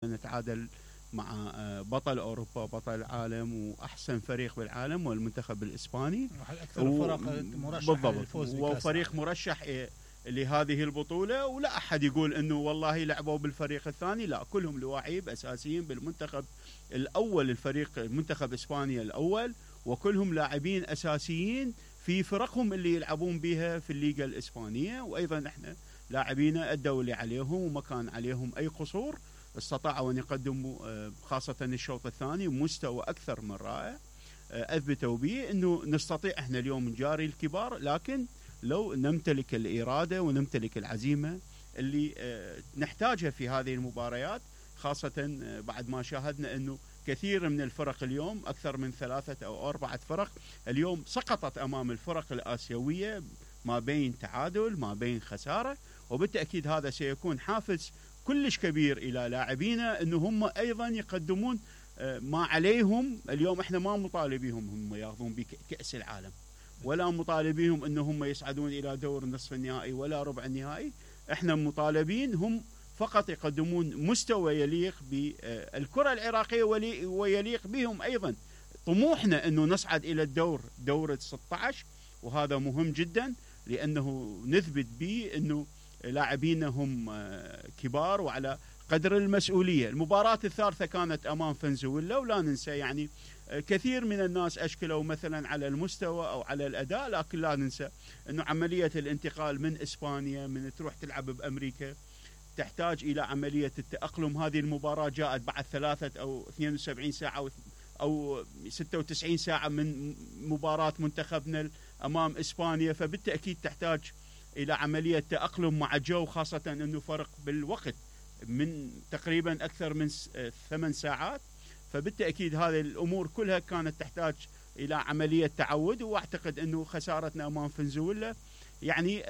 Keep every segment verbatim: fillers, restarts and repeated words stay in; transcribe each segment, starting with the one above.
نتعادل مع بطل اوروبا بطل العالم واحسن فريق بالعالم والمنتخب الاسباني واحد اكثر الفرق مرشحه بالضبط للفوز بكاس وفريق مرشح لهذه البطوله، ولا احد يقول انه والله لعبوا بالفريق الثاني، لا كلهم لواعيب اساسيين بالمنتخب الاول، الفريق المنتخب اسبانيا الاول، وكلهم لاعبين اساسيين في فرقهم اللي يلعبون بها في الليغا الاسبانيه. وايضا احنا لاعبينا ادوا اللي عليهم وما كان عليهم اي قصور، استطاعوا أن يقدموا خاصة الشوط الثاني مستوى أكثر من رائع، أثبتوا به أنه نستطيع إحنا اليوم نجاري الكبار، لكن لو نمتلك الإرادة ونمتلك العزيمة اللي نحتاجها في هذه المباريات، خاصة بعد ما شاهدنا أنه كثير من الفرق اليوم أكثر من ثلاثة أو أربعة فرق اليوم سقطت أمام الفرق الآسيوية، ما بين تعادل ما بين خسارة، وبالتأكيد هذا سيكون حافز كلش كبير إلى لاعبينا أنه هم أيضا يقدمون ما عليهم. اليوم احنا ما مطالبيهم هم ياخذون بكأس العالم، ولا مطالبيهم أنه هم يصعدون إلى دور النصف النهائي ولا ربع النهائي، احنا مطالبين هم فقط يقدمون مستوى يليق بالكرة العراقية ويليق بهم أيضا. طموحنا أنه نصعد إلى الدور دورة ستة عشر، وهذا مهم جدا لأنه نثبت به أنه لاعبين هم كبار وعلى قدر المسؤولية. المباراة الثالثة كانت أمام فنزويلا، ولا ننسى يعني كثير من الناس أشكلوا مثلا على المستوى أو على الأداء، لكن لا ننسى أنه عملية الانتقال من إسبانيا من تروح تلعب بأمريكا تحتاج إلى عملية التأقلم. هذه المباراة جاءت بعد ثلاثة أو اثنين وسبعين ساعة أو ستة وتسعين ساعة من مباراة منتخبنا أمام إسبانيا، فبالتأكيد تحتاج إلى عملية تأقلم مع جو، خاصة أنه فرق بالوقت من تقريبا أكثر من ثمان ساعات، فبالتأكيد هذه الأمور كلها كانت تحتاج إلى عملية تعود. وأعتقد أنه خسارتنا أمام فنزويلا يعني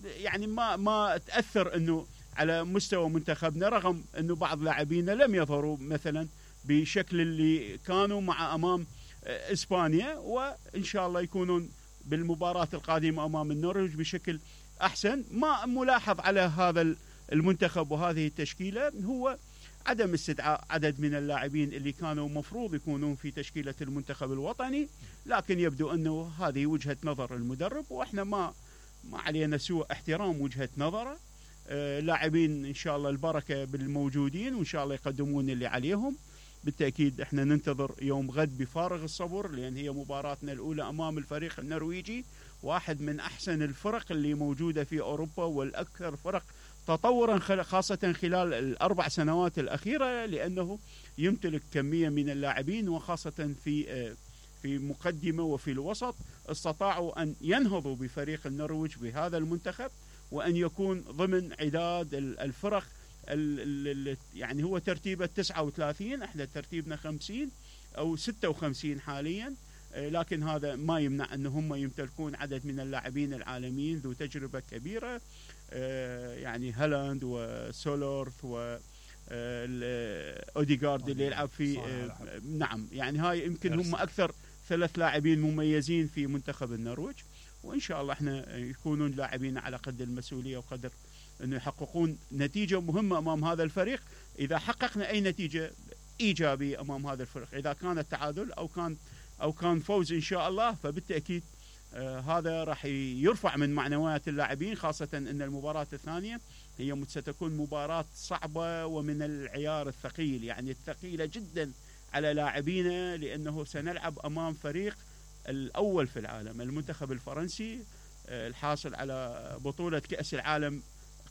يعني ما ما تأثر أنه على مستوى منتخبنا، رغم أنه بعض لاعبينا لم يظهروا مثلا بشكل اللي كانوا مع أمام إسبانيا، وإن شاء الله يكونون بالمباراة القادمة أمام النرويج بشكل أحسن. ما ملاحظ على هذا المنتخب وهذه التشكيلة هو عدم استدعاء عدد من اللاعبين اللي كانوا مفروض يكونون في تشكيلة المنتخب الوطني، لكن يبدو أنه هذه وجهة نظر المدرب، وإحنا ما ما علينا سوى احترام وجهة نظره. آه لاعبين إن شاء الله البركة بالموجودين، وإن شاء الله يقدمون اللي عليهم. بالتأكيد احنا ننتظر يوم غد بفارغ الصبر، لأن هي مباراتنا الأولى أمام الفريق النرويجي، واحد من أحسن الفرق اللي موجودة في أوروبا والأكثر فرق تطورا خاصة خلال الأربع سنوات الأخيرة، لأنه يمتلك كمية من اللاعبين، وخاصة في في مقدمة وفي الوسط استطاعوا أن ينهضوا بفريق النرويج بهذا المنتخب، وأن يكون ضمن عداد الفرق يعني هو ترتيبه تسعة وثلاثين، احنا ترتيبنا خمسين او ستة وخمسين حاليا، لكن هذا ما يمنع ان هم يمتلكون عدد من اللاعبين العالميين ذو تجربه كبيره، يعني هالاند وسولورث و اوديغارد اللي يلعب في نعم، يعني هاي يمكن هم اكثر ثلاث لاعبين مميزين في منتخب النرويج، وان شاء الله احنا يكونون لاعبين على قدر المسؤوليه وقدر أنه يحققون نتيجة مهمة أمام هذا الفريق. إذا حققنا أي نتيجة إيجابية أمام هذا الفريق، إذا كان التعادل أو كان أو كان فوز إن شاء الله، فبالتأكيد آه هذا راح يرفع من معنويات اللاعبين، خاصة أن المباراة الثانية هي ستكون مباراة صعبة ومن العيار الثقيل، يعني الثقيلة جدا على لاعبينا، لأنه سنلعب أمام فريق الأول في العالم، المنتخب الفرنسي آه الحاصل على بطولة كأس العالم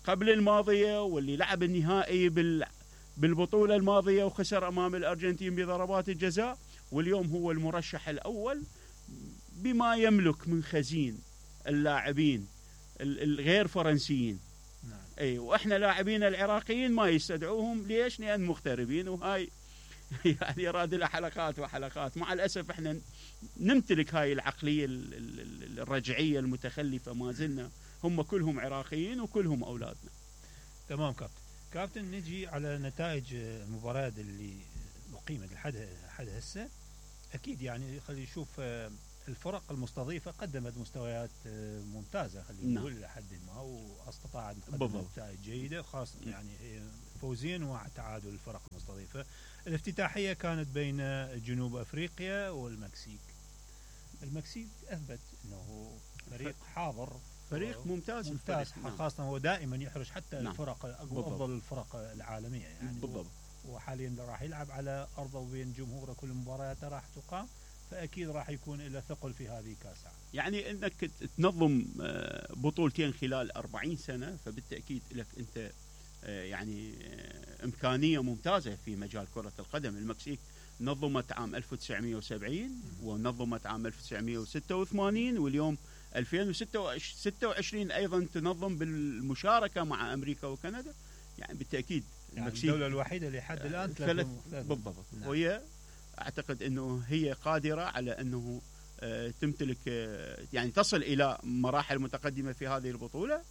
قبل الماضية، واللي لعب النهائي بالبطولة الماضية وخسر أمام الأرجنتين بضربات الجزاء، واليوم هو المرشح الأول بما يملك من خزين اللاعبين الغير فرنسيين. نعم. أي وإحنا لاعبين العراقيين ما يستدعوهم، ليش؟ لأن مغتربين، وهاي يعني راد لها حلقات وحلقات. مع الأسف إحنا نمتلك هاي العقلية الرجعية المتخلفة، ما زلنا هم كلهم عراقيين وكلهم أولادنا. تمام كابتن. كابتن نجي على نتائج المباريات اللي أقيمت لحد لحد هسه. أكيد يعني خلي نشوف الفرق المستضيفة قدمت مستويات ممتازة، خلينا نقول لحد ما، واستطاعت تقدم نتائج جيدة، خاصة يعني فوزين وواحد تعادل الفرق المستضيفة. الافتتاحية كانت بين جنوب أفريقيا والمكسيك. المكسيك أثبت أنه فريق حاضر، فريق ممتاز ممتاز نعم. خاصة هو دائما يحرج حتى نعم. الفرق أفضل الفرق العالمية يعني بالضبط. وحاليا راح يلعب على أرضه وبين جمهوره، كل مبارياته راح تقام، فأكيد راح يكون له ثقل في هذه كأس العالم. يعني أنك تنظم بطولتين خلال أربعين سنة فبالتأكيد لك أنت يعني إمكانية ممتازة في مجال كرة القدم. المكسيك نظمت عام ألف وتسعمائة وسبعين ونظمت عام ألف وتسعمائة وستة وثمانين واليوم ألفين وستة وعشرين أيضا تنظم بالمشاركة مع أمريكا وكندا. يعني بالتأكيد يعني الدولة الوحيدة لحد الآن ثلاث بالضبط. نعم. وهي أعتقد أنه هي قادرة على أنه تمتلك يعني تصل إلى مراحل متقدمة في هذه البطولة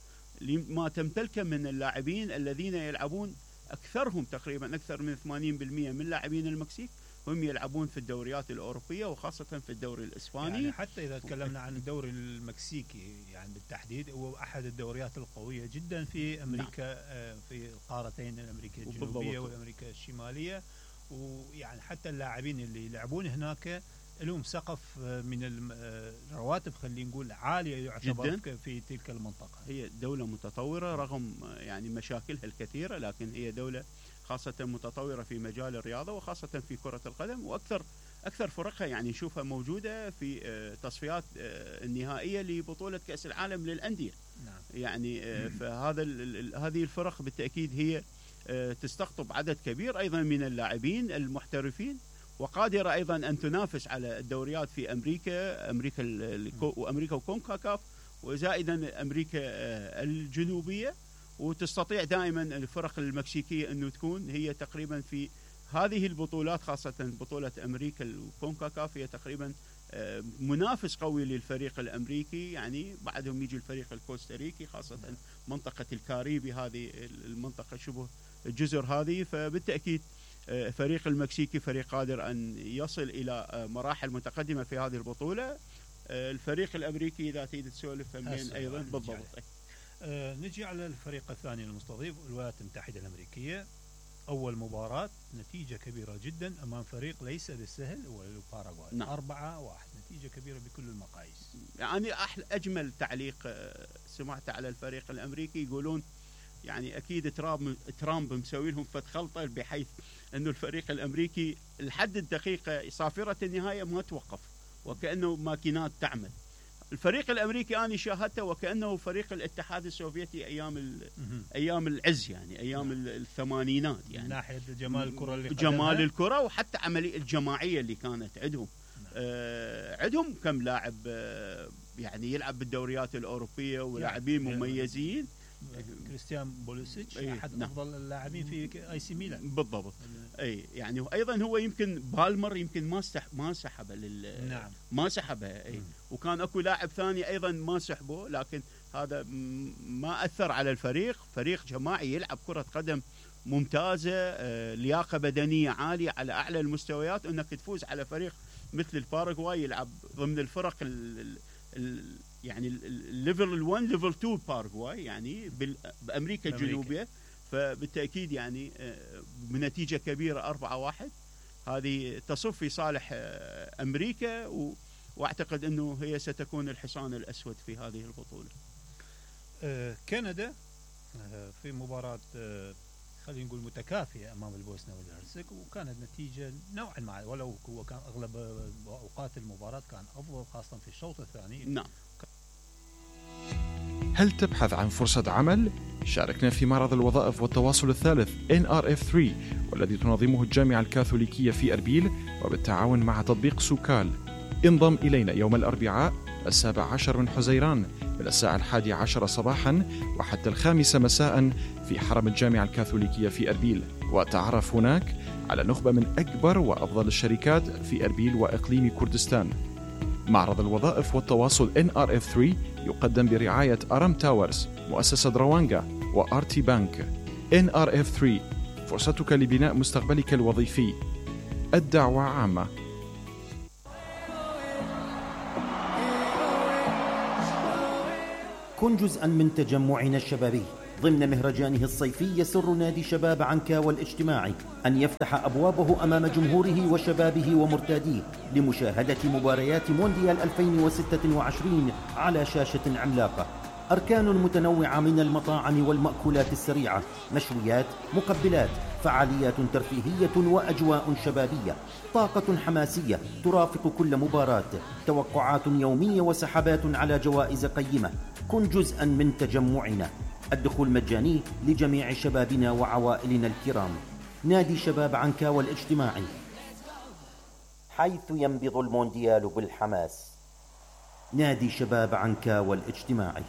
لما تمتلكه من اللاعبين الذين يلعبون أكثرهم تقريبا أكثر من ثمانين بالمئة من لاعبين المكسيك هم يلعبون في الدوريات الأوروبية وخاصة في الدوري الإسباني. يعني حتى إذا تكلمنا عن الدوري المكسيكي يعني بالتحديد هو أحد الدوريات القوية جدا في أمريكا. نعم. في القارتين الأمريكية الجنوبية والأمريكا الشمالية، ويعني حتى اللاعبين اللي يلعبون هناك لهم سقف من الرواتب خلينا نقول عالية يعتبر جداً في تلك المنطقة. هي دولة متطورة رغم يعني مشاكلها الكثيرة، لكن هي دولة خاصة متطورة في مجال الرياضة وخاصة في كرة القدم، وأكثر أكثر فرقها يعني نشوفها موجودة في تصفيات النهائية لبطولة كأس العالم للأندية. نعم. يعني فهذا هذه الفرق بالتأكيد هي تستقطب عدد كبير أيضا من اللاعبين المحترفين، وقادرة أيضا أن تنافس على الدوريات في أمريكا أمريكا وأمريكا وكونكاكاف وزائدا أمريكا الجنوبية، وتستطيع دائما الفرق المكسيكية أنه تكون هي تقريبا في هذه البطولات خاصة بطولة أمريكا الكونكاكاف هي تقريبا منافس قوي للفريق الأمريكي. يعني بعدهم يجي الفريق الكوستاريكي خاصة منطقة الكاريبي هذه المنطقة شبه الجزر هذه. فبالتأكيد فريق المكسيكي فريق قادر أن يصل إلى مراحل متقدمة في هذه البطولة. الفريق الأمريكي إذا تريد تسولف همين أيضا بالضبط. أه نجي على الفريق الثاني المستضيف الولايات المتحدة الأمريكية. أول مباراة نتيجة كبيرة جدا أمام فريق ليس بالسهل هو الباراغواي. نعم. أربعة واحد نتيجة كبيرة بكل المقاييس. يعني أحلى أجمل تعليق سمعته على الفريق الأمريكي يقولون يعني أكيد ترامب ترامب مسوي لهم فت خلطة بحيث أنه الفريق الأمريكي لحد الدقيقة صافرة النهاية ما توقف وكأنه ماكينات تعمل. الفريق الأمريكي أنا شاهدته وكأنه فريق الاتحاد السوفيتي أيام أيام العز يعني أيام نعم. الثمانينات يعني من ناحية جمال الكرة اللي جمال الكرة وحتى عملية الجماعية اللي كانت عندهم. نعم. آه عندهم كم لاعب آه يعني يلعب بالدوريات الأوروبية ولاعبين يعني مميزين. كريستيان بوليسيتش احد نعم. افضل اللاعبين في اي سي ميلان بالضبط. اي يعني ايضا هو يمكن بالمر يمكن ما استح ما سحبه لل نعم. ما سحبه اي وكان اكو لاعب ثاني ايضا ما سحبه، لكن هذا ما اثر على الفريق. فريق جماعي يلعب كرة قدم ممتازة، آه لياقة بدنية عالية على اعلى المستويات، انك تفوز على فريق مثل الباراغواي يلعب ضمن الفرق ال ال يعني الليفل واحد ليفل اثنين باراغواي يعني بأمريكا الجنوبية. فبالتأكيد يعني بنتيجة كبيرة أربعة واحد هذه تصف في صالح أمريكا، وأعتقد أنه هي ستكون الحصان الأسود في هذه البطولة. آه كندا آه في مباراة آه خلينا نقول متكافئة أمام البوسنة والهرسك، وكانت نتيجة نوعا ما ولو هو كان أغلب أوقات المباراة كان أفضل خاصة في الشوط الثاني. نعم. هل تبحث عن فرصة عمل؟ شاركنا في معرض الوظائف والتواصل الثالث إن آر إف ثلاثة والذي تنظمه الجامعة الكاثوليكية في أربيل وبالتعاون مع تطبيق سوكال. انضم إلينا يوم الأربعاء السابع عشر من حزيران من الساعة الحادية عشر صباحا وحتى الخامسة مساء في حرم الجامعة الكاثوليكية في أربيل، وتعرف هناك على نخبة من أكبر وأفضل الشركات في أربيل وإقليم كردستان. معرض الوظائف والتواصل إن آر إف ثلاثة يقدم برعاية أرام تاورز، مؤسسة روانجا وآرتي بانك. إن آر إف ثلاثة فرصتك لبناء مستقبلك الوظيفي. الدعوة عامة. كن جزءا من تجمعنا الشبابي ضمن مهرجانه الصيفي يسر نادي شباب عنكاوى الاجتماعي أن يفتح أبوابه أمام جمهوره وشبابه ومرتاديه لمشاهدة مباريات مونديال ألفين وستة وعشرين على شاشة عملاقة. أركان متنوعة من المطاعم والمأكولات السريعة، مشويات، مقبلات، فعاليات ترفيهية وأجواء شبابية، طاقة حماسية ترافق كل مباراة، توقعات يومية وسحبات على جوائز قيمة. كن جزءا من تجمعنا. الدخول مجاني لجميع شبابنا وعوائلنا الكرام. نادي شباب عنكاوى الاجتماعي، حيث ينبض المونديال بالحماس. نادي شباب عنكاوى الاجتماعي.